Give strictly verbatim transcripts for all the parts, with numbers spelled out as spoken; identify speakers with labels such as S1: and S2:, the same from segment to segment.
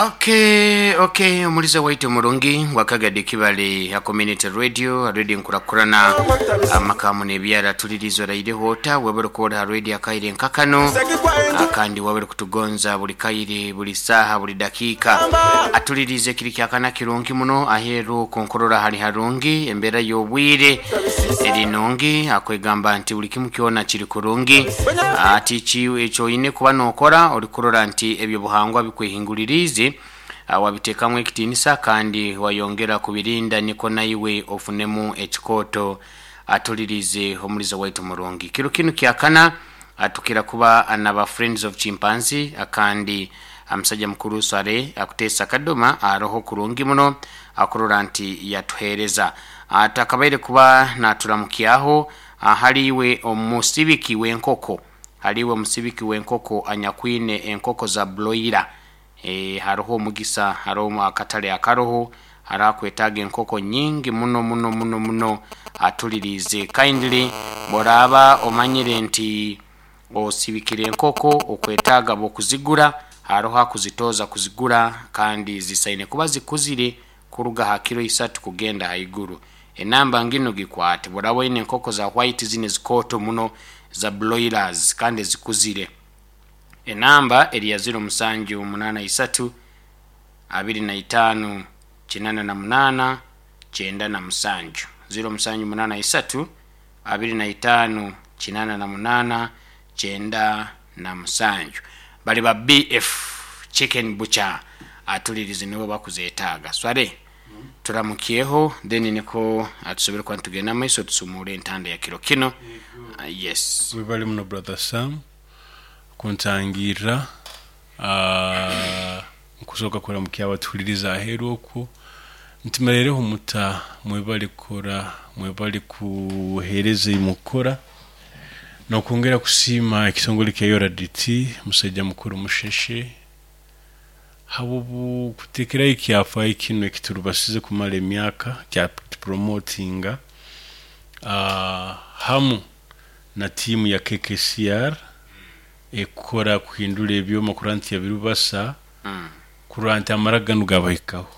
S1: Okay, okay, omuliza waitu murungi wakagadi kibale ya community radio, radio nkurakurana amakamu nebyara tulirizo raide hota webere kuoda radio akaire nkakano akandi wabere kutugonza buli kaire buli saha buli dakika atulirize kiri kyakana kirungi muno aheru konkorora hali harungi embera y'obwire erinongi akwegamba nti buli kimu kyona kiri kurungi ati ki ekyo oyine kuba nokora olikurora nti ebyo buhangwa bikwehingulirize wabiteekamu ekitiinisa kandi wayongera kubirinda niko naiwe ofunemu ekikoto atulirize omulizo waitu murungi kiro kinu kyakana atukira kuba anaba Friends of Chimpanzee akandi amusajja mukuru Sware akutesa kadoma aroho kurungi muno akurora nti yatuhereza atakabaire kuba naturamukiaho haliwe omusibiki w'enkoko haliwe omusibiki w'enkoko anyakwine enkoko za broiler. E, haroho omugisa haroho akatale akaroho harakwetaga enkoko nyingi muno muno muno muno atulirize kindly boraba omanyire nti osibikire enkoko okwetaga bokuzigura haroho akuzitoza kuzigura kandi zisaine kuba zikuzire kuruga ha kilo isatu kugenda haiguru. Enamba ngino gikwate boraba ine enkoko za white zine zikoto muno za broilers kandi zikuzire. Enamba eri ya zero musanju munana isatu abiri na itanu chinana na munana chenda na musanju zero musanju munana isatu abiri na itanu chinana na munana chenda na musanju bali ba B F Chicken Butcher atulirize nibo bakuzetaaga sware mm. Turamukieho then niko atusobere kwa tugenda maiso tusumure entanda ya kiro kino. Uh, yes,
S2: we bali muno brother Sam kuntangira uh, nkusoka kora mukiaba tuliriza aheru okwo ntimerereho muta mwebali kora mwebali kuhereza imukora no kongera kusima ekitongole kya Y O R D T musajja mukuru musheshe habubu kutekera ikyafa ikino ekiturubasize kumala emyaka kya promotinga uh, hamu na timu ya K K C R ekora kuhindura ebyoma kuranti ya birubasa mm. kuranti amaragano gabahikaho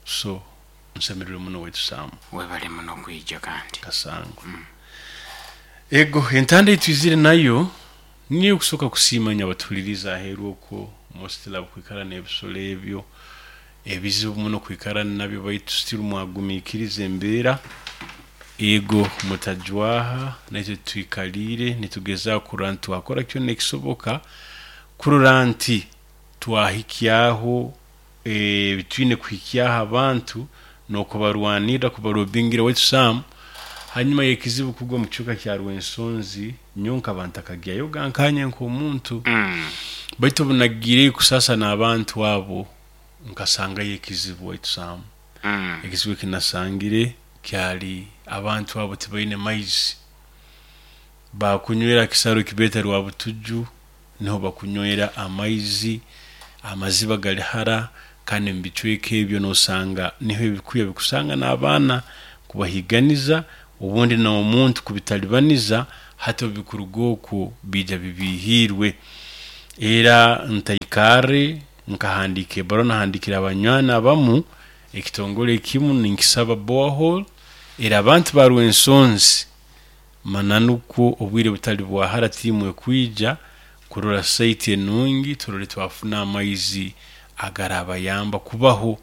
S2: so nsemerere muno wetu Sam
S1: webale muno kwijja kandi
S2: kasango mm. Ego entanda itwizire nayo niyo kusoka kusimanya batuliriza aheru okwo mostly kwikara n'ebisolo ebyo ebizibu muno kwikara nabyo baitu still mwagumikirize embera ego mutajwaha naitwe twikalire nitugeza kurantu akora kyo nekisoboka kururanti twahikyaho e, bitwine kuhikyaho abantu nokubarwanira kubarobingira wetu Sam hanyuma yekizibu kugwa mu kibuga kya Rwensonzi nyonka abantu akagyayo gankanye nk'omuntu mm. Baitu bunagire kusasa n'abantu abo nkasanga yekizibu wetu Sam mm. Ekizibu kinasangire kyali abantu abo tibaine maizi bakunywera kisaro kibeta rwa butuju niho bakunywera amaizi amaziba gali hara kandi mbicweke ebyo nosanga niho ebikuya bikusanga n'abaana kubahiganiza ubundi na omuntu kubitalibaniza hato bikurugoku bija bibihirwe era ntaikare nkahandike barona handikira abanywana abamu ekitongole kimu ninkisaba borehole era abantu barwensonzi mananuko obwire butali bwahara timu ekwija kurora site enungi turore twafuna amaizi agarabayamba kubaho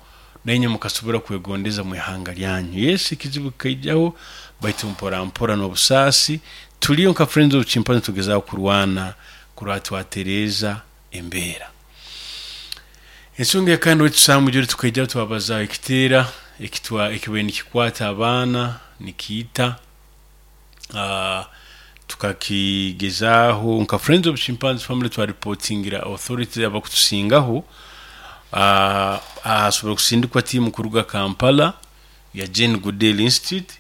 S2: nenye mukasobora kwegondeza mu ihanga lyanyu. Yes, ikizibu kaijaho baitu mpora mpora n'obusasi tuliyo nka Friends of Chimpanzee tugezaho kurwana kurwa Tereza embera ensonga kandi wetusamu jori tukaija twabaza ekitera ekitwa ekiwe nikikwata abaana nikiita uh, tukakigezaho nka Friends of Chimpanzee Family twa reportingira authority abakutusingaho uh, asobora kusindikwa timu kuruga Kampala ya Jane Goodall Institute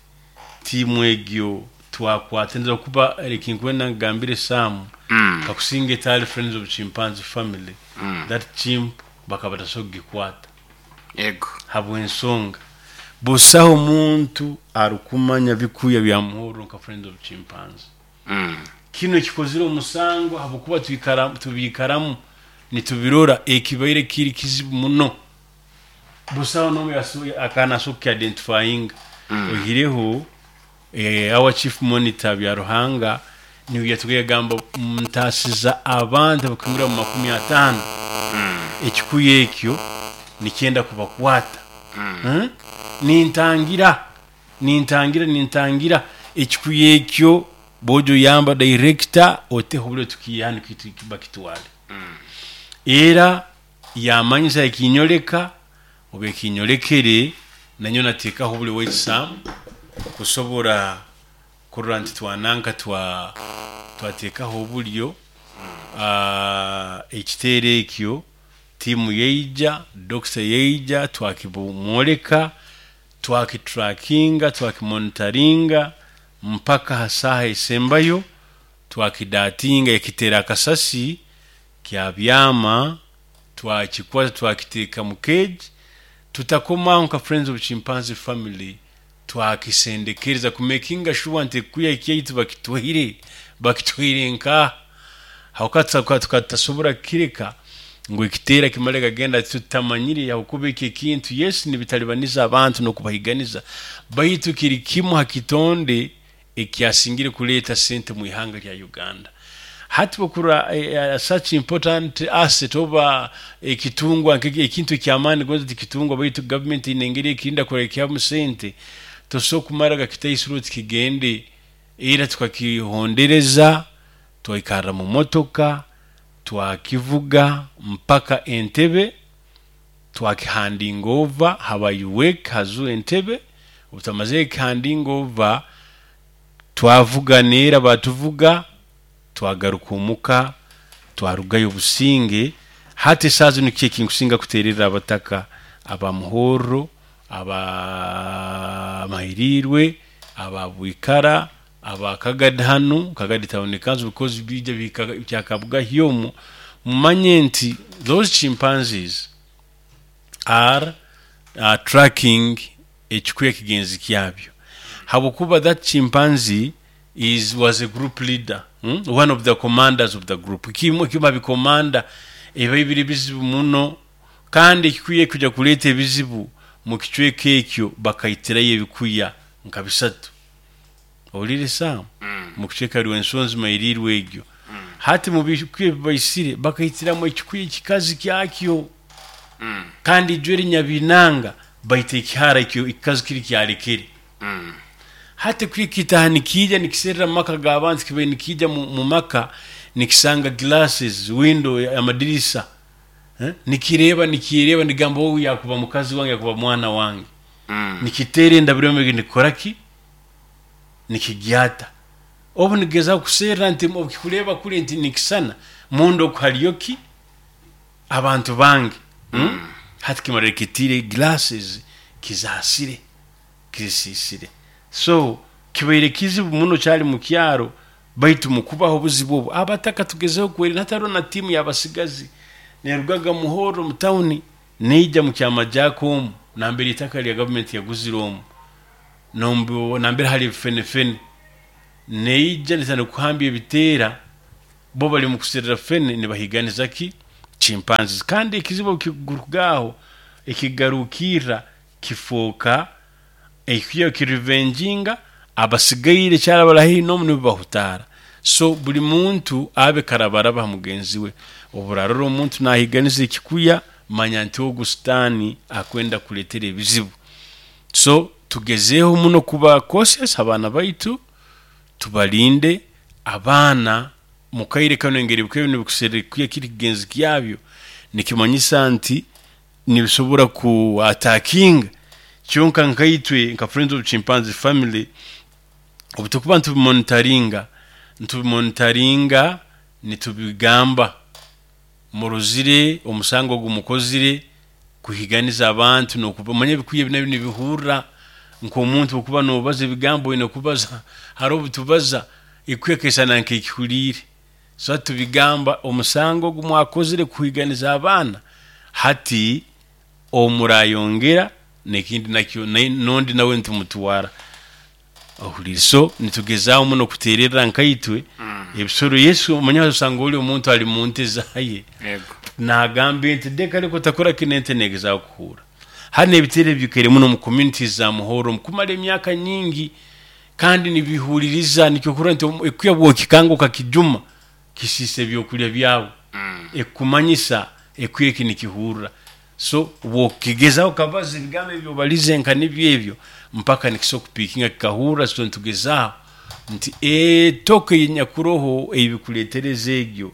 S2: timu egyo twakwata kuba rekinkwena ngambire Sam mm. Kakusinga etali Friends of Chimpanzee Family mm. That chimp bakabatasogikwata
S1: ego
S2: habwensonga busaho muntu arukumanya bikuya bya muhoro nka Friends of Chimpanzee mm. Kino kikozire omusango habukuba twikara tubikaramu nitubirora ekibaire kiri kizibu muno Busaho n'omu akanaso kuki-identifyinga oihireho eh, our chief monitor Byaruhanga niwe yatugamba, gamba ntasiza abantu abakwingura mu makumi ataano, ekikuya ekyo nikyenda kubakwata. Hmm? nintangira nintangira nintangira ekikuya ekyo, bojo yamba director oteho obulyo tukiyani bakitwale. Era yamanyisa ekinyoleka oba ekinyolekere nanyo nateekaho obulyo bwekisaamu kusobora kurora nti twananka twa twateekaho obulyo. Ah, ekiteero ekyo tiimu yaija, dokita yaija, twakibumwoleka, twakitrackinga, twakimonitoringa mpaka ha saaha esembayo twakidatinga, ekiteera akasasi kyabyama, twakikwata, twakiteeka mu cage. Tutakomaho nka Friends of Chimpanzee Family, twakisendekereza kumakinga sure nti ekuya ekyaitu bakitwaire bakitwaire nka hawakati tukatasobora kukireka ngu ekiteera kimale kagenda tutamanyire, hakuba eki ekintu yes nibitalibaniza abantu n'okubahiganiza, baitu kiri kimu ha kitonde ekyasingire kuleeta sente mu ihanga lya Uganda. Hati bukura eh, such important asset oba ekitungwa nk'eki- ekintu ekyamaani gonza tikitungwa, baitu government ine engeri ekirinda kurekyamu sente, tosobola kumara gakitaisiro oti kigende. Era tukakihondereza, twaikarra mu motoka, twakivuga mpaka Entebe, twakihandinga over habayuwek hazu Entebe. Obu twamazire kihandinga over, twavuga neera batuvuga, twagaruka omuka, twarugayo obusinge. Hati esaaha zinu kiki ekinkusinga kuteererra abataka aba Muhorro, aba Mahirirwe, aba Bwikara, aba Kagadi hanu Kagadi Town Council, because bija bihika kyakabugahi omu, mumanye nti those chimpanzees are uh, tracking ekikuya kigenzi kyabyo, habwokuba that chimpanzee is was a group leader, hmm? One of the commanders of the group. Kimu kiba bikomanda eba bibiri bizibu muno, kandi ekikuya kujya kuleeta ebizibu mu kicweka ekyo, bakaitirayo ebikuya nka bisatu, owulire Sam, mu kicweka Rwensonzi Mairirwe egyo. Hati mu bikuya ebibaisire bakaitiramu ekikuya ekikazi kyakyo, kandi ijweri nyabinanga baita ekihara ekyo ekikazi kiri kyalekere. Hati kwikitaha nikiija nikiserera mu maka g'abantu, kibaire nikiija mu, mu maka nikisanga glasses window, amadirisa, eh? Nikireeba nikireeba nigamba ogu yakuba mukazi wange, yakuba mwana wange. Nikiteera endabiro nikikora ki, nikigyata obu nigezaho kuserra nti obukikureeba kuri nti nikisana munda oku hariyo ki abantu bange, hmm? Hati kimarire kitiire glasses kizasire kizisisire, so kibaire kizibu muno kyali mu kyaro. Baitu mukubaho obuzibu obu abataka tugezeho kwerinda. Hatariho na tiimu y'abasigazi nerugaga Muhoro mu tawuni neija mu Kyamajako omu nambere itaka lya gavumenti yaguzire omu nombu nambere hali ebifenefene, neija netandika kuhambya ebiteera, bo bali mu kuserera fene nibahiganiza ki chimpanzees. Kandi ekizibu kigurugaho ekigarukirra kifooka ekikuya kirevenginga abasigaire kyarabara haihi n'omu nibo bahutaara. So buli muntu abe karabaraba ha mugenzi we, oburarora omuntu nahiganiza ekikuya, manya nti ogu sitaani akwenda kuletera ebizibu. So tugezeeho muno kuba cautious, abaana baitu tubalinde. Abaana mukaire kanu engeri bikuya nibikuserra ekikuya kiri kigenzi kyabyo, nikimanyisa nti nibisobora ku attackinga. Kyonka nkaitwe nka Friends of Chimpanzee Family, obu tukuba nitubimonitoringa nitubimonitoringa nitubigamba murozire omusango ogu mukozire kuhiganiza abantu n'okumanya ebikuya ebi nabyo nibihurra nk'omuntu. Okuba nobaza ebigambo oine kubaza, hariho obutubaza ekuya kesana nk'ekihuliire. So hati tubigamba omusango ogu mwakozire kuhiganiza abaana, hati omurayongera nekindi nakyo n'ondi nawe nitumutwara, ohulire. So nitugezaaho muno kutererra nkaitwe ebisoro. Yesu omanya osanga oli omuntu ali mu nte zaye
S1: yego
S2: nagamba ente deka ariko otakora kino, ente negezaho kuhura. Hari n'ebiteere bikaire muno mu communities za Muhoro kumara emyaka nyingi, kandi nibihuririza. Nikyo kurora nti ekuya bwokikanga okakijuma kisisa ebyokulya byawe, ekumanyisa ekuya eki nikihurra. So bwokigezaho kabaza ebigambo ebyo obalize nka nibyo ebyo mpaka nikisobola kupikinga kikahurra. So nitugezaho nti etoke yenyakuroho ebikuletereza egyo,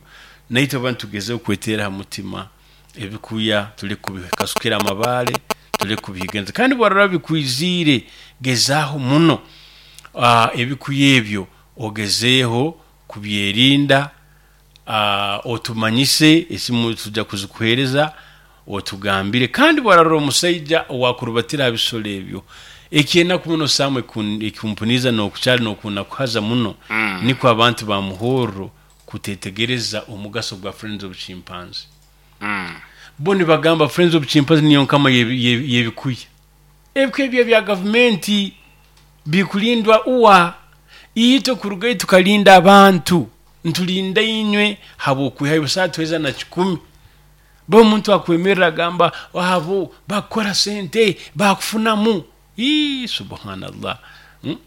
S2: naitwe abantu tugezeho kweteera ha mutima ebikuya, tuli kubikasukira amabale, tuli kubihiganiza. Kandi bwarora bikwiziire, gezaho muno uh, ebikuya ebyo ogezeeho kubyerinda. uh, otumanyise, esimu tujja kuzikuhereza, otugambire. Kandi bwarora omusaija owakurubatira ha bisolo ebyo, ekyenaku muno samwe ekimpuniza n'okukyali n'okunakuhaza muno,
S1: Mm.
S2: nikwo abantu ba Muhorro kutetegereza omugaso gwa Friends of Chimpanzee.
S1: Mm.
S2: Bo nibagamba Friends of Chimpanzee niyo nkama y'ebikuya. Ebikuya ebyo bya gavumenti bikulindwa uwa itwe kurugayo tukalinda abantu, ntulinda inywe habwokwihayo busaa tuheza na kikumi. Bo omuntu akwemerera agamba abo bakukora sente bakufunamu. Ii, subhanallah. hmm?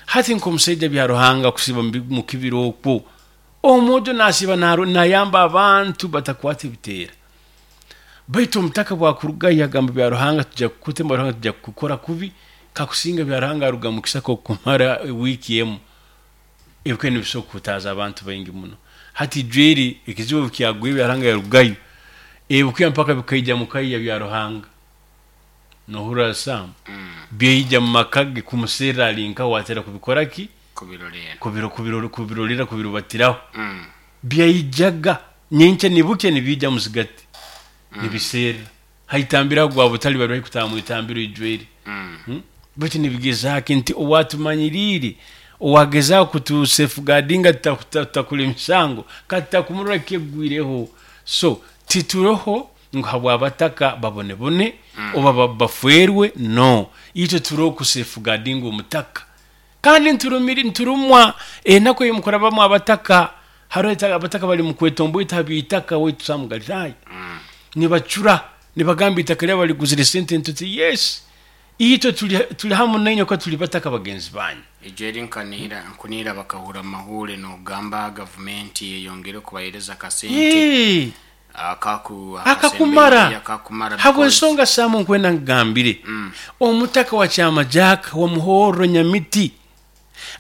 S2: Hati nk'omusaija bya Ruhanga kusiba mu kibira okwo, omuntu nasiba nayamba abantu batakwata ebiteera. Baitu omutaka bwakurugayo agamba bya Ruhanga tujja kukutema, Ruhanga tujja kukukora kubi, kakusinga bya Ruhanga aruga mu kisaka okumara wiiki emu. Ebikuya nibisobola kuhutaaza abantu baingi muno. Hati ijweri ekizibu kyagwire, bya Ruhanga yarugayo, ebikuya mpaka bikaija mukaiya bya Ruhanga nohurra sam, byaija mu maka ge kumuserra ali nkaho watera kubikora ki,
S1: kubirolera,
S2: kubiro kubiro kubirolera, kubirubatiraho.
S1: Mm.
S2: Byaijaga nyenkya nibukya nibiija muzigati, nibiserra haitambiraho gwa butali bari kutaha mu itambiro ijweri.
S1: Mm.
S2: Hmm? Baitu nibigezaako nti owatumanyiriire owagezaho kutu safeguardinga tutakula emisango katakumurora kegwireho. So tituroho ngu habwabataka babonebone oba ba- bafwerwe, no, itwe turoho ku safeguardinga omutaka. Kandi nturumiri nturumwa enaku eyimukurabamu abataka. Hariho ita- abataka bali mukwetomboita ha byitaka waitu Samu Galilaya, nibacura nibagamba itaka lyabo baliguzire sente. Ntuti yes, itwe tuli, tuli hamu nainywe ko tuli bataka bagenzi banyu.
S1: Ijweri nkanihira nkunihira bakahura mahure nogamba gavumenti eyongere kubahereza akasente
S2: Yee,
S1: akaku
S2: akakumara.
S1: Akakumara.
S2: Habwensonga Samu nkwenda nkugambire, omutaka wa Kyamajaka wa Muhorro Nyamiti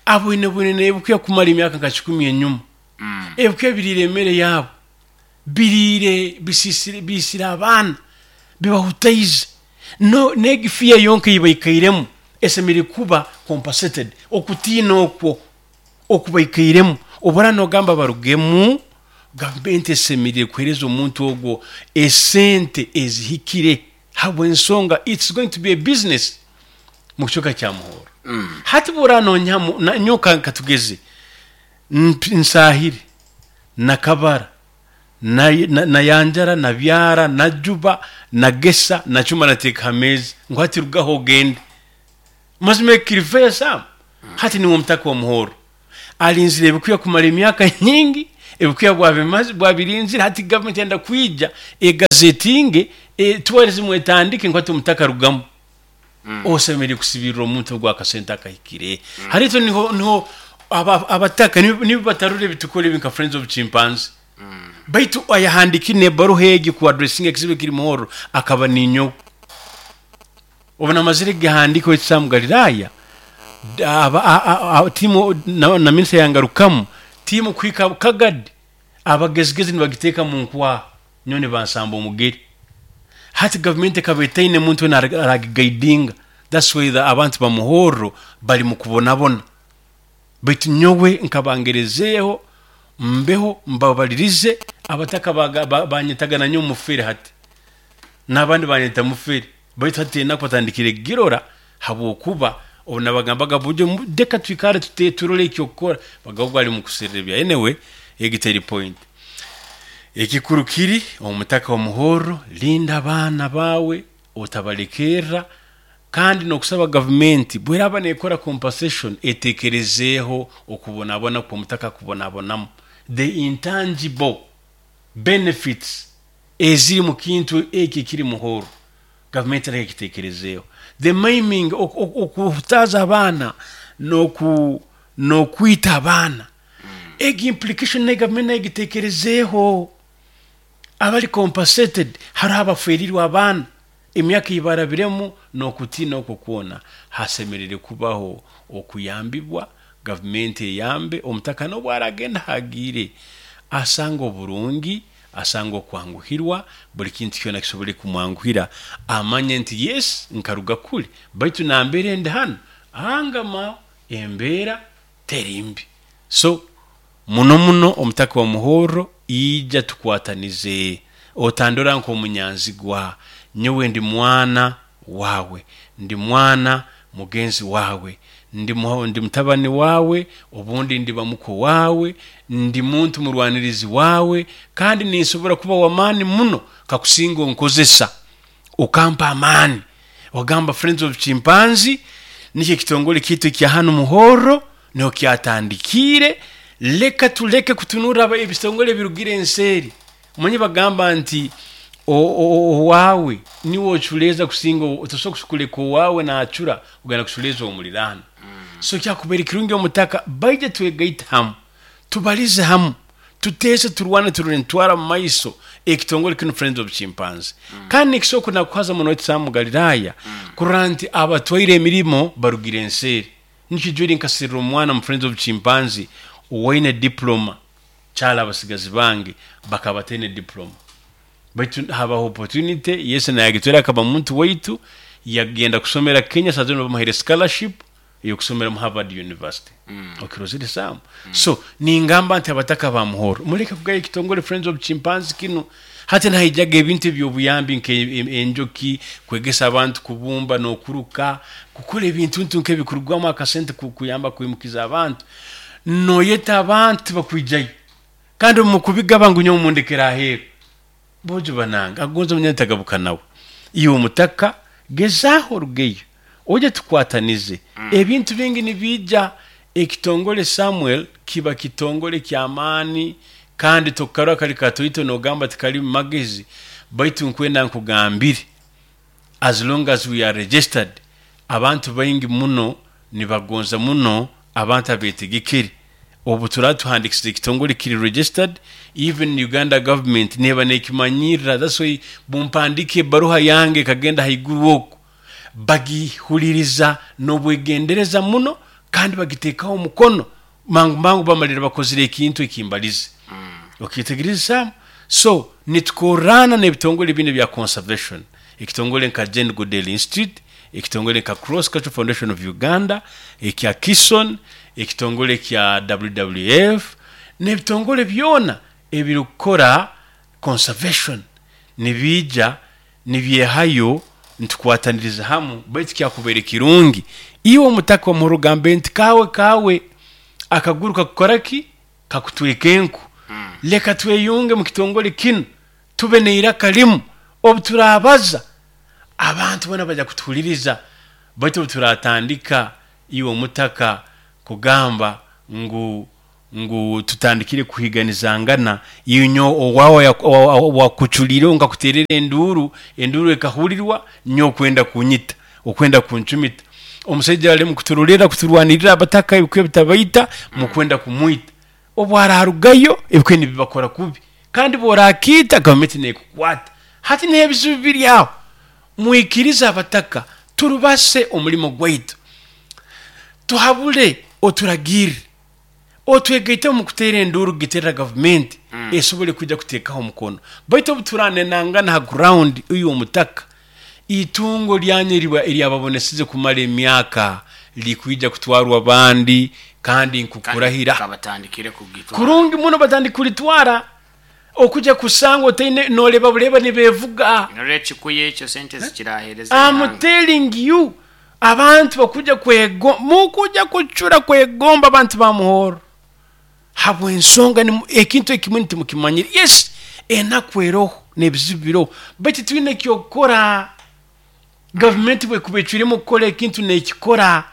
S2: abwine bwine nebukuya kumara emyaka nka kikumi enyuma.
S1: Mm.
S2: Ebikuya biriire emere yaabo, biriire, bisisire, biisire abaana, bibahutaize. No negifiya yonka eyibaikairemu esemere kuba compensated okutiina okwo okubaikairemu. Obura nogamba barugemu, gavumenti esemerire kuhereza omuntu ogwo esente ezihikire, habwensonga it's going to be a business mu kicweka kya Muhoro.
S1: Mm.
S2: Hati buranonyamu nyoka katugeze Mp- nsahire nakabara na- na- nayanjara nabyara najuba nagesa nacuma nateeka ha meeza ngu hati rugaho ogende. Mazima ekirifeya Sam, hati niwe omutaka wa Muhoro alinzire ebikuya kumara emyaka nyingi, ebikuya bwabimaze bwabirinzire. Hati gavumenti yenda kwija egazetinge e, tourism etandike ngu hati omutaka rugamu. Osemerire kusibirira omuntu ogwo akasente akahikire. Hariito niho niho aba- abataka nibo nibo batarura ebitukora ebi nka Friends of Chimpanzee. Baitu ayahandikire nebaruha egi ku addressinga ekizibu ekiri Muhoro akaba ninyowe obu namazire gihandika ekisamu Galilaya aba- a- a- a- timu na, na minisita yangarukamu timu kuhika Kagadi abagezigezi nibagiteeka mu nkwaha nyo nibansamba omugeri. Hati gavumenti ekaba etaine muntu wena aragigaidinga. That's why the abantu bamuhorro bali mu kubonabona. Baitu nyowe nkabangerezeeho mbeho mbabalirize abataka baga- ba- banyetaga nanyo mufere, hati n'abandi banyeta mufere. Baitu hati enaku batandikire girora habwokuba obu nabagambaga buryo mu- deka twikare tute turole ekyokukora bagabo bali mu kuserera ebya. Anyway, egiteri point ekikuru kiri omutaka wa Muhorro, linda abaana bawe otabalekerra. Kandi nokusaba gavumenti bweraba nekora compensation etekerezeeho okubonabona kw'omutaka kubonabonamu, the intangible benefits eziri mu kintu eki ekiri Muhoro. Gavumenti reka ekitekerezeeho. The maiming, okuhutaza abaana n'oku n'okwita abaana, egi implication nayo gavumenti nayo egitekerezeeho. Abali compensated, hariho abaferirwe abaana emyaka eibarabiremu n'okutiina okwo kwona. Hasemerere kubaho okuyambibwa, gavumenti eyambe omutaka n'obu aragenda hagiire asanga oburungi, asanga okwanguhirwa, buli kintu kyona kisobole kumwanguhira, amanye nti yes, nkaruga kuli, baitu nambere ndi hanu angama embeera teri mbi. So muno muno omutaka wa Muhorro, ija tukwatanize, otandora nk'omunyanzigwa. Nyowe ndi mwana wawe, ndi mwana mugenzi wawe, ndi ndi mutabani wawe, obundi ndiba muko wawe, ndi muntu murwanirizi wawe, kandi ninsobora kuba w'amaani muno kakusinga onkozesa okampa amaani. Ogamba Friends of Chimpanzee nikyo ekitongole kiitu ekya hanu Muhorro, niho kyatandikiire. Leka tuleke kutunura ebitongole ebirugire enseeri. Omanyi bagamba nti owaawe niwe oculeeza kusinga, tosobola kuleka owaawe naacura ogenda kuculeeza omuliraano. So kyakubaire kirungi omutaka baije twegaite hamu, tubalize hamu, tuteese, turwane, turole nitutwara mu maiso ekitongole kinu Friends of Chimpanzee. Kandi nikisobora kunakuhaza muno Sam Galilaya kurora nti abatwaire emirimo barugire enseeri. Nikijwire nkasirira omwana mu Friends of Chimpanzee owaine diploma, kyala abasigazi bange bakaba bataine diploma, baitu habaho opportunity, yese nayagitwera akaba muntu waitu, yagenda kusomera Kenya, saa zino bamuhaire scholarship ey'okusomera mu Harvard University. Okirozere Sam? So ningamba nti abataka ba Muhoro, muleke kugaya ekitongole Friends of Chimpanzee kinu. Hati nahaijaga ebintu eby'obuyambi nk'enjoki, kwegesa abantu kubumba n'okuruka, kukora ebintu ntu nk'ebikurugwamu akasente kuyamba kwimukiza abantu. Noyeta abantu bakwijayo, kandi omu kubigaba ngu nyowe mundekera aheeru. Bojo bananga agonza munyantagabuka nawe. Iwe omutaka gezaaho orugeyo, oje tukwatanize. Ebintu bingi nibijja. Ekitongole Samuel kiba kitongole ky'amaani, kandi tokarora kali katoito nogamba tikali mu magezi, baitu nkwenda nkugambire, as long as we are registered, abantu baingi muno nibagonza muno abantu abetegekere. Obu turaba tuhandikisize ekitongole kiri registered, even Uganda government neba nekimanyirira. That's why bumpandike ebaruha yange ekagenda haiguru oku, bagihuliriza n'obwegendereza muno, kandi bagiteekaho omukono mangu mangu, bamalira bakozire ekintu ekimbalize. Okyetegereza Sam? So nitukorana n'ebitongole bino bya conservation, ekitongole nka Jane Goodall Institute, ekitongole nka Cross Cultural Foundation of Uganda, ekya Kison, ekitongole kya W W F, n'ebitongole byona ebirikukora conservation nibija nibyehayo, ntukwataniriza hamu. Baitu kyakubaire kirungi iwe omutaka omurugambe nti kawe kawe akaguru kakukora ki, kakutweka enku. Leka tweyunge mu kitongole kinu, tube neiraka limu. Obu turabaza abantu bona bajja kutuhuliriza. Baitu obu turatandika iwe omutaka kugamba ngu ngu tutandikire kuhiganizangana, inyo owawe wakuculire nkakuterera enduru, enduru ekahurirwa, nyo okwenda kunyita, okwenda kunchumita. Omusaija ali mukuturulira kuturwanirira abataka ebikwe bitabaita, mukwenda kumwita. Obu ararugayo ebikwe nibibakora kubi, kandi borakita gavumenti nekukwata. Hati n'ebizibu biri aho. Mwikirize abataka turubase omulimo gwaitu, tuhabule oturagirire, otwegaite mu kuteera enduru giterera gavumenti esobole kujja kuteekaho omukono. Baitu obu turanenangana ha ground, uyu omutaka itungo lyanyu eryababonesize kumara emyaka likwija kutwarwa bandi, kandi nkukurahira kurungi muno batandika kulitwara. Okujja kusanga otaine noleba buleba nibevuga. I'm telling you, abantu bakuja kwego mukuja kucura kwegomba abantu ba Muhoro habw'ensonga ekintu ekimwe ntimukimanyire. Yes, enaku eroho n'ebizibu biroho, baitu twine ekyokukora. Gavumenti bwekuba ecwiremu kukora ekintu nekikora.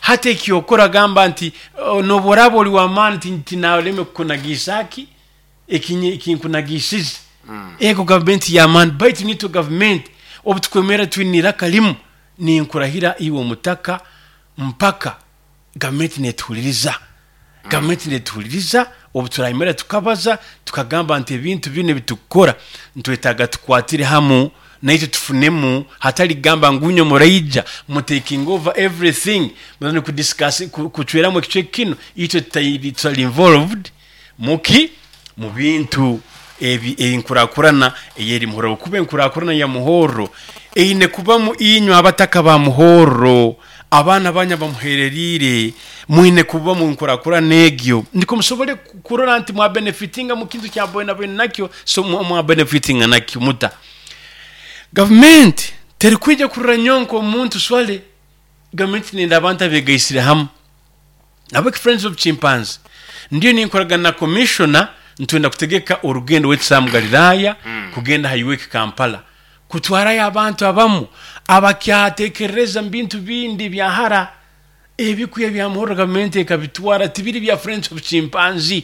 S2: Hati ekyokora gamba nti noboraba oli w'amaani tinaleme kukunagiisaki ekinkunagisize. Ego gavumenti y'amaani, baitu nitwe gavumenti Obu tukwemera twine iraka limu, ninkurahira iwe omutaka, mpaka gavumenti netuhuliriza, gavumenti netuhuliriza. Obu turayemera tukabaza tukagamba nti ebintu binu ebitukukora ntwetaaga tukwatire hamu naitwe tufunemu, hatali kugamba ngu inywe muraija mutaking over everything, mutandike kudiscuss kucweramu ekicweka kinu, itwe tutali involved muki mu bintu ebi. Enkurakurana eyeri Muhorro, kuba enkurakurana ya Muhorro eine kubamu inywe abataka ba Muhorro, abaana banyu bamuhereriire, mwine kuba mu nkurakurana egyo, niko musobole kurora nti mwabenefitinga mu kintu kya boina boina nakyo. So mwabenefitinga nakyo muta? Gavumenti terikwija kurora nyonka omuntu swale. Gavumenti nenda abantu abegaisire hamu. Nabwo Friends of Chimpanzee ndiyo ninkoragana na commissioner, ntwenda kutegeka orugendo w'ekisaamu Galilaya kugenda highway Kampala kutwarayo abantu abamu abakyatekereza mu bintu bindi byahara. Ebikuya bya Muhorro gavumenti ekabitwara, tibiri bya Friends of Chimpanzee.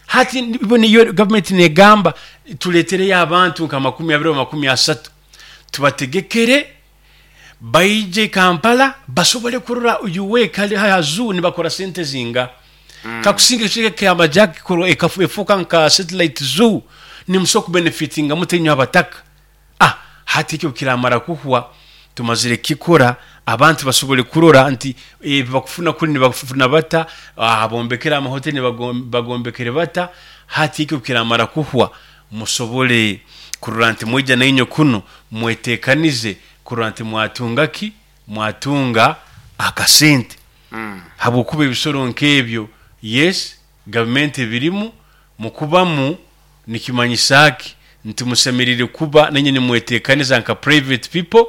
S2: Hati bo niyo gavumenti negamba tuletereyo abantu nka makumi abiri oba makumi asatu, tubategekere baije Kampala basobole kurora U A kali ha zoo nibakora sente zinga. mm. Kakusinga ekicweka kyamajaki efuuka nka satellite zoo, nimusobola kubenefitinga muta inywe abataka? Ah, hati ekyo kiramara kuhwa, tumazire kikora, abantu basobole kurora nti ebi bakufuna kuli nibakufuna bata, ah, bombekere amahoteli bagombekere bata. Hati ekyo kiramara kuhwa, musobole kurora nti mwija nainywe kuno mwetekanize kurora nti mwatunga ki, mwatunga akasente,
S1: Mm.
S2: habwokuba ebisoro nk'ebyo, yes, gavumenti ebirimu mukubamu nikimanyisa ki? Nti musemerire kuba nanye nimwetekaniza nka private people,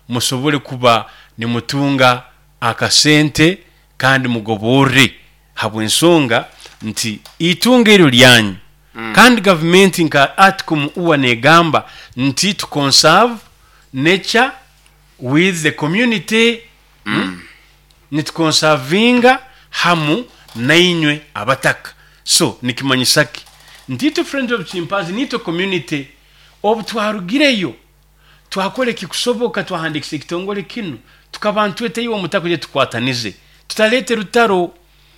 S2: musobole kuba nimutunga akasente kandi mugoborre, habw'ensonga nti itunga eryo lyanyu.
S1: Mm.
S2: Kandi gavumenti nka article uwa negamba nti to conserve nature with the community.
S1: Mm.
S2: Nitukonsavinga hamu nainywe abataka. So nikimanyisa ki? Nti itwe Friends of Chimpanzee nitwe community, obu twarugireyo twakora ekikusoboka, twahandikisa ekitongole kinu, tukaba ntweteyo omutaka gye tukwatanize, tutalete rutaro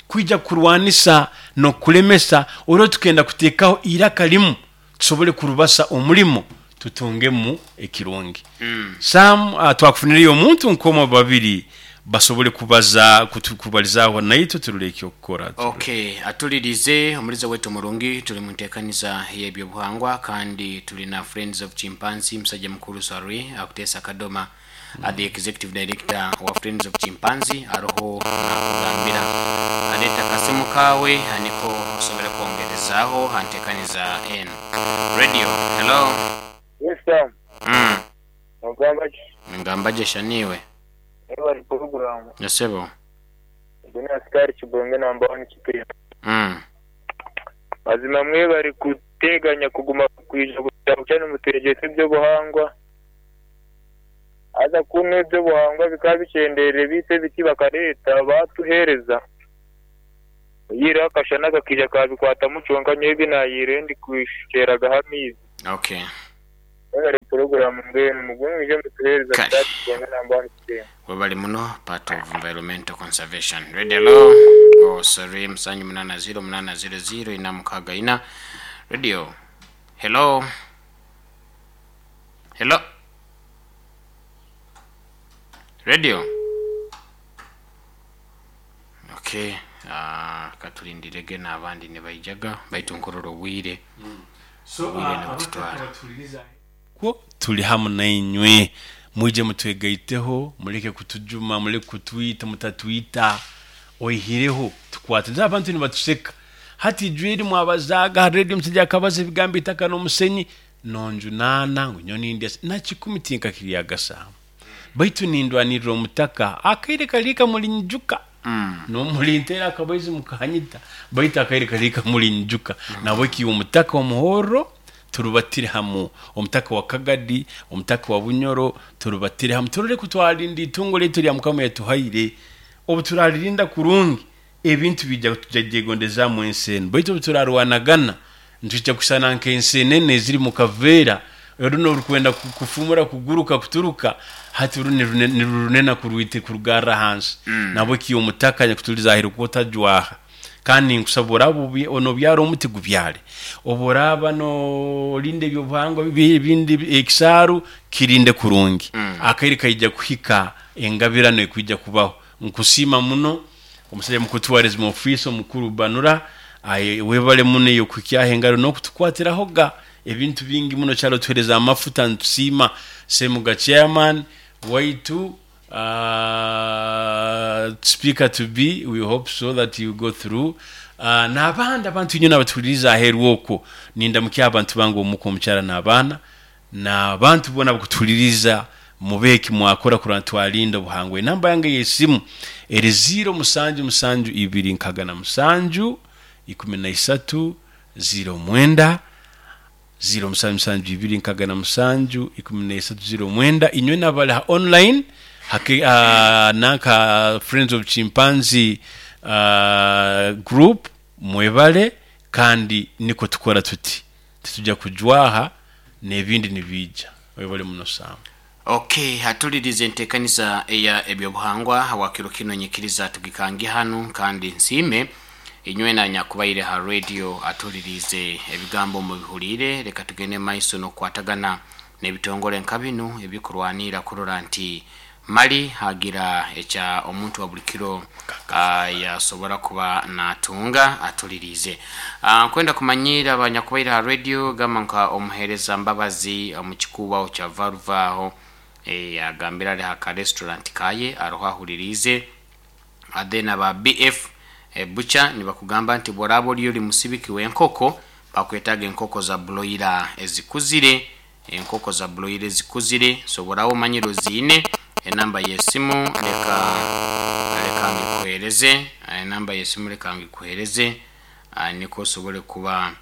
S2: kwija kurwanisa n'okulemesa olwo. Tukenda kuteekaho iraka limu tusobole kurubasa omulimo tutungemu ekirungi.
S1: Mm.
S2: Sam, uh, twakufunireyo omuntu nk'omwe babiri basobole kubaza kutu- kubalizaaho naitwe, turole ekyokukora.
S1: Okay, atulirize omuliza wetu omurungi, tuli mu nteekaniza y'ebyobuhangwa kandi tulina Friends of Chimpanzee, musajja mukuru Sarwi akuteesa Kadoma, mm. the executive director wa Friends of Chimpanzee, aroho nakugambira aleeta kasimu kawe aniko osobole kwongerezaaho hanteekaniza n radio. Hello.
S3: Yes, Sam.
S1: mm.
S3: Ogamba ki?
S1: Ngamba gye shaniwe.
S3: Ebali program.
S1: Yasebo.
S3: Guna askari Kibonge namba one Kipira.
S1: mm.
S3: Mazima mwe bari kuteganya kuguma kwija kucyane mutegetse ebyobuhangwa. Aza kumwe ebyobuhangwa bikaba bicenderere bise biti bakareta batuhereza. Yira akashana kakija kabikwata muconka nyebi nayire ndi kwisheraga hamizi.
S1: Okay.
S3: Ebali program mbenu mugumije mutuhereza.
S1: Kale.
S3: Askari Kibonge namba one Kipira.
S1: Webali muno, part of environmental conservation radio. Hello. Oh, sorry, musanju munana zero munana zero zero ina mukaga ina radio. Hello, hello, radio. Okay, uh, katulindirege n'abandi ne baijaga baitu nkorora obwire.
S2: So
S1: Obwire nibututwara.
S2: Kwo tuli hamu nainywe, mwije mutwegaiteho, muleke kutujuma, muleke kutwita, mutatwita oihireho tukwate abantu nibatuseka. Hati ijweri mwabazaga ha radio, musajja akabaza ebigambo itaka n'omusenyi nonjunaana ngu nyo nindya nakikumi tinkakiryagasaamu, baitu nindwanirira omutaka akaire kaliika mulinjuka.
S1: mm.
S2: Nomulintera akabaizi mukanyita, baitu akaire kaliika mulinjuka. Nabwe omutaka omuhorro turubatire hamu, omutaka wa Kagadi, omutaka wa Bunyoro, turubatire hamu, turole kutwalinda itungo letu lya Mukama yatuhaire. Obu turalirinda kurungi, ebintu bijja tujajegondezaamu ensi enu, baitu obu turarwanagana ntujja kusana nk'ensenene eziri mu kaveera. Runo rukwenda kufumura, kuguruka, kuturuka, hati runi nirunena kurwite kurugarra hansi. Mm. Nabwo kiyo omutaka nyakutuliza ahiru kutajwaha. Kandi nkusaba oraba onobyara omuti gubyale, oboraba no linde ebyobuhangwa bindi ekisaaru kirinde kurungi. Mm. Akaire kaija kuhika engabirano ekuija kubaho. Nkusima muno omusajja mukuru tourism office omukuru Banura, webale muno eyo kuhikyaho engaro n'okutukwatirahoga ebintu bingi muno. Kyalo tuhereza amafuta, ntusima Semuga chairman waitu, uh, speaker to be, we hope so that you go through. uh, n'abandi abantu nyina abatuliriza aheru okwo, nindamukia abantu bange omuko omukyala n'abaana n'abantu bona bakutuliriza, mubeki mwakora kurana twalinda obuhangwa. Enamba yange y'esimu eri ziro musanju musanju ibiri nkaga na musanju ikumi na isatu ziro mwenda, ziro musanju musanju ibiri nkaga na musanju ikumi na isatu ziro mwenda. Inywe n'abali ha online hake, uh, nanka Friends of Chimpanzee uh, group, mwebale. Kandi niko tukora tuti titujja kujwaha n'ebindi nibija. Webale muno sana.
S1: Okay, hatulirize enteekaniza eya ebyobuhangwa wakiro kino nyikiriza tugikange hano, kandi nsiime inywe na nyakubaire ha radio atulirize ebigambo mubihulire. Reka tugende maiso n'okukwatagana n'ebitongole nka binu ebikurwanira kurora nti mali hagira ekya omuntu wa buli kiro yasobora kuba natunga. Atulirize nkwenda kumanyira abanyakubaire ha radio gamba nka omuhereza Mbabazi omukikubaho kya Varuvaho, e, agambira ari haka restaurant kaye aroho ahulirize. Then aba B F e, bucha nibakugamba nti bworaba oliyo oli musibiki w'enkoko, bakwetaga enkoko za broiler ezikuzire, enkoko za broiler ezikuzire. So bworaba omanyire oziine, enamba y'esimu leka leka ngikuhereze, enamba y'esimu leka ngikuhereze, niko osobole kuba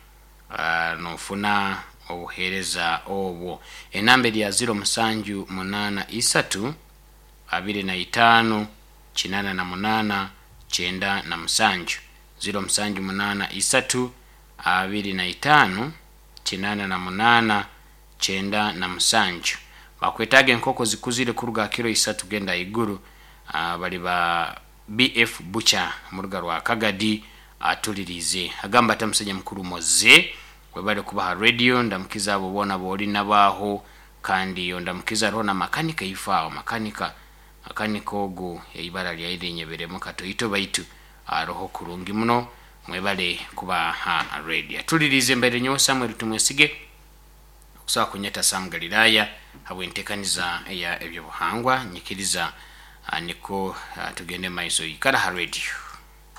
S1: nofuna obuhereza obwo. Enamba eri ya ziro musanju munana isatu abiri na itano kinana na munana kyenda na musanju, ziro musanju munana isatu abiri na itano kinana na munana kyenda na musanju. Bakwetaga enkoko zikuzire kuruga kiro isatu genda iguru. Uh, bali ba B F Bucha muruga rwa Kagadi atulirize. Agamba ata musajja mukuru Moze webale kubaha radio, ndamukiza abo bona boli nabaho, kandi ndamukiza roho na makanika ifao makanika makanika ogo eibara lya ire nyeberemo katoito baitu aroho kurungi muno. Mwebale kubaha radio. Atulirize mbere nyo Samuel Tumwesige okusobola kunyeta Sam Galilaya habwentekaniza ya ebyobuhangwa nyikiriza niko tugende maiso ikara ha radio.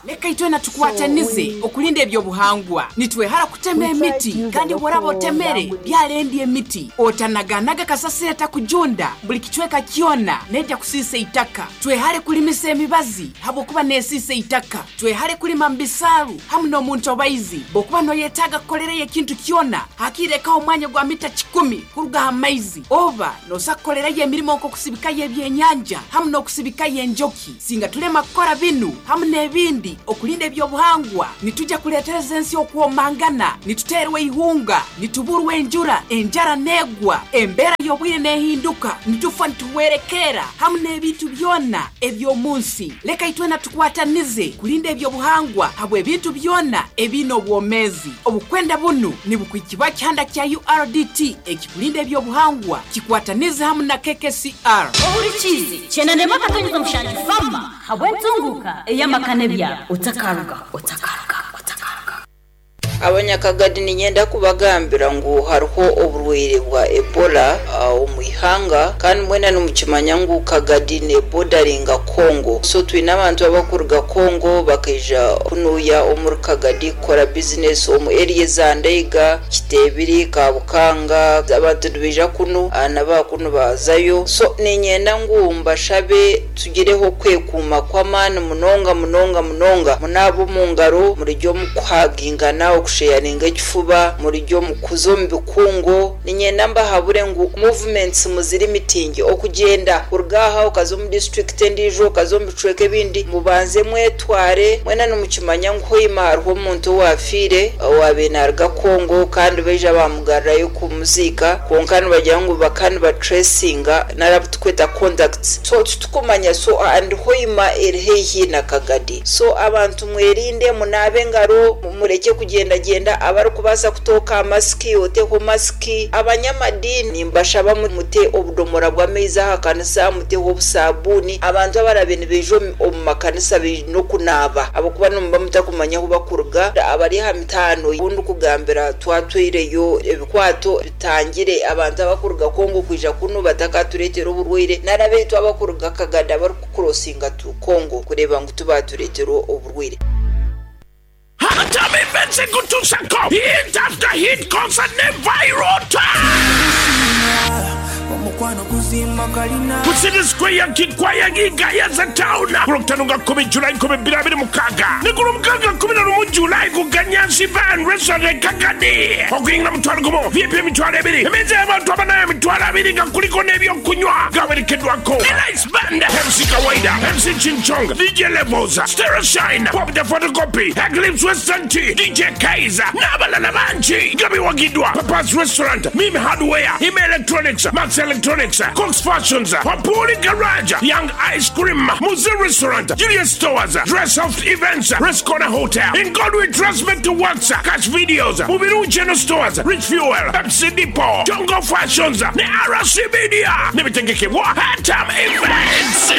S4: Leka itwe na tukwatanize okulinda ebyobuhangwa. Nitwehara kutema emiti kandi woraba otemere byalendi emiti otanaganaga kasasira takujunda buli kichweka kyona nejja kusisa itaka. Twehare kulimisa emibazi habwokuba nesisa itaka. Twehare kulima mbisaru hamu n'omuntu obaizi bokuba noyetaga kukolereyo ekintu kyona hakireka omwanya gwa mita kikumi kuruga ha maizi oba nosakukolerayo emirimo nk'okusibikayo ebyenyanja hamu n'okusibikayo enjoki. Singa tulema kukora binu hamu n'ebindi okulinda ebyobuhangwa nitujja kuletereza ensi okwomangana, nituterwa ihunga, nituburwa enjura, enjara negwa, embera y'obwire nehinduka, nitufa nituwerekera hamu n'ebintu byonna ebyomunsi. Leka itwe na tukwatanize kulinda ebyobuhangwa habwe ebintu byonna ebina obwomezi. Obukwenda bunu nibukwikibwa kihanda kya U R D T ekikulinda ebyobuhangwa kikwatanize hamu na K K C R.
S5: Ohurikize chenanema katonyeza mushanju fama habwe ntunguka eyamakane bya otakaruga otakaruga otakaruga.
S6: Abanyakagadi ninyenda kubagambira ngu hariho oburwaire bwa Ebola omu ihanga, kandi mwena nimukimanya ngu Kagadi ne bordering'a Congo. So twine abantu abakuruga Congo bakaija kunuya omuri Kagadi kukora business omu area za Ndeiga, Kitebiri, Kabukanga, abantu nibaija kunu n'abakunu bazayo. So ninyenda ngu mbashabe tugireho kwekuuma kw'amaani munonga munonga munonga, munabo mu ngaro murijyo mukuhagingana okusheyaringa ekifuba, murijyo mukuza omu bikungo. Ninyenda mbahabure ngu Movements muziri mitingi okugenda kuruga aha okaza omu district endiijo, okaza omu bicweka ebindi, mubanze mwetware. Mwena nimukimanya ngu Hoima hariho omuntu owafiire owabe naruga Kongo, kandi baija bamugarrayo kumuziika, kwonka nibagira ngu baka nibatracinga narabu tukweta contacts, so titukumanya. So and Hoima eri haihi na Kagadi, so abantu mwerinde, munaabe engaro, mureke kugendagenda. Abarikubaasa kutooka masiki, oteho masiki. Abanyamadini mbashaba mute obudomora bw'amaizi aha kanisa, muteho obusabuuni. Abantu abarabe nibaija omu makanisa baine okunaaba, ahabw'okuba nimuba mutakumanya ahu bakuruga. Abari aha mitaano obundi kugambira twatwireyo ebikwato bitangire abantu abakuruga Kongo kwija kunu batakatureetera oburwaire, nari abaitu abakuruga Kagadi abarikukurosinga tu Kongo kureeba ngu tubatureetera oburwaire.
S7: Hatam Events ekutusako hit after hit concert ne viral ku City Square Kikwaya Gayaza Town ku Lwokutaano nga kkumi Julayi nkumi bbiri abiri mukaaga ne ku Lwomukaaga kkumi na lumu Julayi ku Ganyansi Van Restaurant e Kagadi. Okuyingira mutwalo gumu, V I P emitwalo ebiri, emmeeza y'abantu abana emitwalo abiri nga kuliko n'ebyokunywa. Gawerekeddwako Elice Band, M C Kawaida, M C Chinchong, D J Levels, Stereo Shine, Pop the Photocopy, Eclipse Western Tea, D J Kaiser n'abalala bangi. Nga biwagiddwa Papa's Restaurant, Mimi Hardware, Ime Electronics, Max Electronics, Cox Fashions, Papuri Garage, Young Ice Cream, Muzi Restaurant, Julius Stores, Dress Soft Events, Rest Corner Hotel, In God We Trust to Works, Cash Videos, Mubiru General Stores, Rich Fuel, Pepsi Depot, Jongo Fashions, ne R C Media, nebitegekebwa Hatam Events.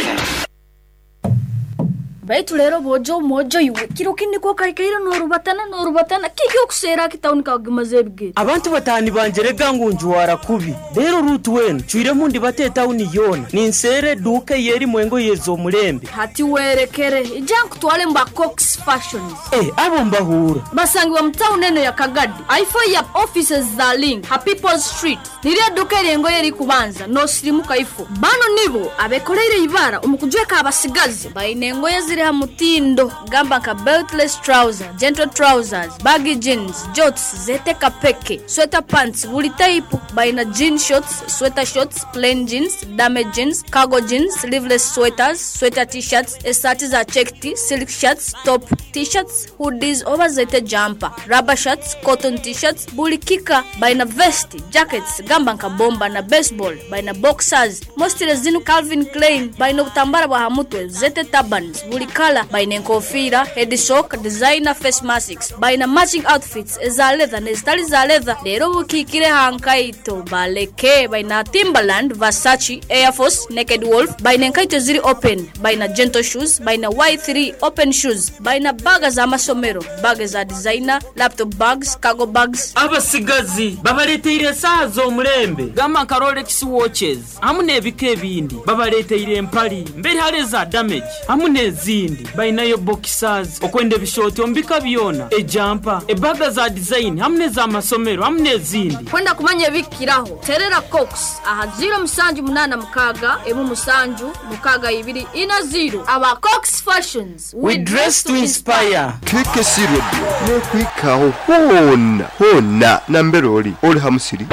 S5: Baitu rero bojo mojo iwe kiro kindi ko kaikaire norubatana norubatana kiki okusera kitawuni kagimaze ebigere.
S8: Abantu batani banje rega ngu njuwara kubi rero rutu wenu cwiremu ndi bate tawuni yona ninsere duka yeri mwengo yezo omulembe.
S5: Hati werekere ija nkutwale mba Cox Fashions.
S8: Eh, abo mbahura.
S5: Basangibwa mu tawuni eno ya Kagadi aifo ya offices za Link ha People's Street, nirya duka eryengo yeri kubanza nosirimuka ifo. Bano nibo abekoleire ibara omukujweka abasigazi baine engoye ziri ha mutindo, gamba nka beltless trouser, gentle trousers, baggy jeans, jorts zete kapeke, sweater pants buli type. Baina jean shorts, sweater shorts, plain jeans, damage jeans, cargo jeans, sleeveless sweaters, sweater t-shirts, esati za checked, silk shirts, top t-shirts, hoodies oba zete jumper, rubber shirts, cotton t-shirts buli kika. Baina vest, jackets gamba nka bomba na baseball, baina boxers mostly zinu Calvin Klein, baina obutambara bwa hamutwe zete turbans buli kala, baina enkofira, head sock, designer face masks, baina matching outfits eza leather nezitali za leather. Rero bukikire hankaito baleke, baina Timberland, Versace, Air Force, Naked Wolf, baina enkaito ziri open, baina gentle shoes, baina Y three open shoes, baina baga z'amasomero, baga za designer, laptop bags, cargo bags.
S8: Abasigazi babaleteire esaaha z'omulembe gamba nka Rolex watches hamu n'ebika ebindi. Babaleteire empali mberi hali eza damage hamu n'ezindi. Bainayo boxers okwenda ebishooti omu bika byona, ejampa, ebaga za design hamu n'ez'amasomero hamu n'ezindi.
S5: Kwenda kumanya ebikiraho terera Cox aha zero musanju munana mukaga emu musanju mukaga ibiri ina zero. Aba Cox Fashions,
S8: we dress to inspire.
S9: K K C Radio nekwikaho hona hona nambere oli oli ha musiri,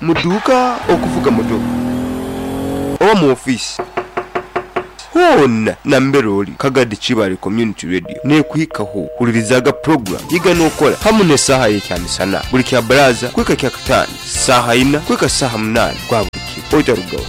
S9: muduuka, okuvuga moto oba mu ofiisi, hona nambere oli Kagadi Kibale Community Radio nekwikaho. Hulirizaga program yiga n'okola hamu n'esaaha y'ekyamisana buli kya baraza kwika kya kataano saaha ina kwika saaha munaani gwa buli kiro otarugaho.